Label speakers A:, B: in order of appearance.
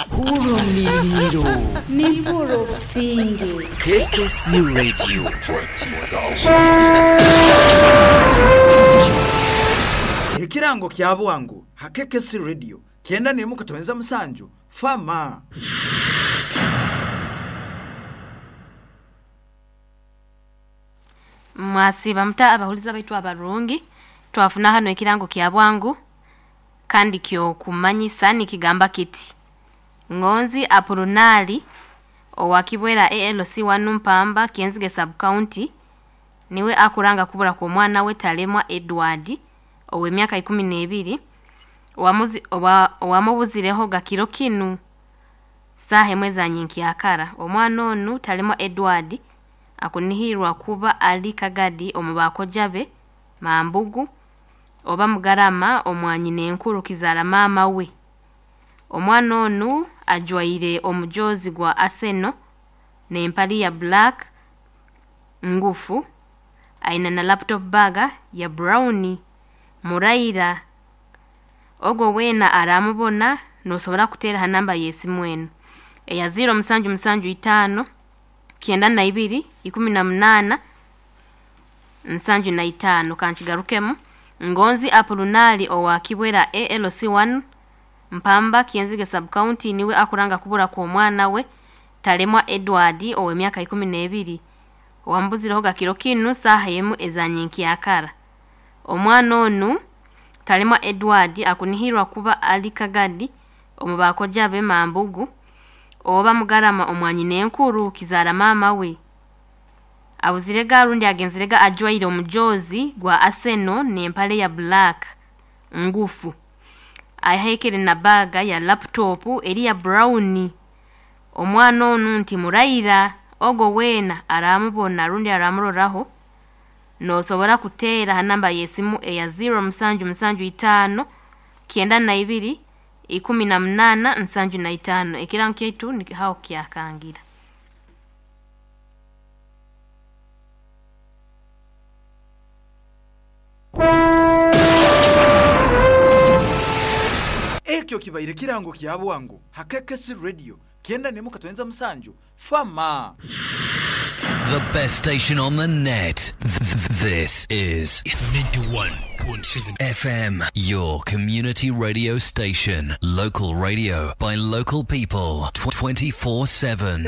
A: Hurra omuliro.
B: Nimpurra obusinge.
A: KKC Radio.
C: Ekirango kya bwangu ha KKC Radio 91.7 Fama.
D: Mwasiba muta abahuliza baitu abarungi, twafuna hano ekirango kya bwangu kandi kyokumanyisa nikigamba kiti: Ngonzi Apolonali owa Kibwera ALC wanu Mpamba Kyenzige sub county niwe akuranga kubura kwa omwana we Talemwa Edward ow'emyaka 12 owamubuzireho gakiro kinu saaha emwe za nyenkyakara. Omwana onu Talemwa Edward akunihirwa kuba ali Kagadi omu bakoja be Mambugu oba Mugarama omwanyina enkuru kizaara maama we. Omwana onu ajwaire omujozi gwa Arsenal n'empali ya black ngufu, aina na laptop bag ya brown. Muraira ogwo weena aramubona nosobora kuteera ha namba y'esimu enu eya 0775 92 18 75. Kankigarukemu: Ngonzi Apolonali owa Kibwera ALC1 Mpamba Kyenzige sub county niwe akuranga kubura kwa omwana we Talemwa Edward ow'emyaka 12 owambuzireho gakiro kinu saaha emu eza nyenkyakara. Omwana onu Talemwa Edward akunihirwa kuba ali Kagadi omu bakoja be Mambugu oba Mugarama omwanyina enkuru kizaara maama we. Abuzirega rundi agenzirega ajwaire omujozi gwa Arsenal n'empale ya black ngufu, ahekere na baga ya laptop eri ya brown. Omwana onu nti muraira ogwo weena aramubona rundi aramuroraho nosobora kuteera ha namba y'esimu eya 0775 92 18 75. Ekirango kyaitu haho kyakangira.
C: Ekyo kibaire kirango kya bwangu ha KKC Radio 91.7 Fama.
E: The best station on the net. This is
F: 91.7
E: FM, your community radio station. Local radio by local people 24/7.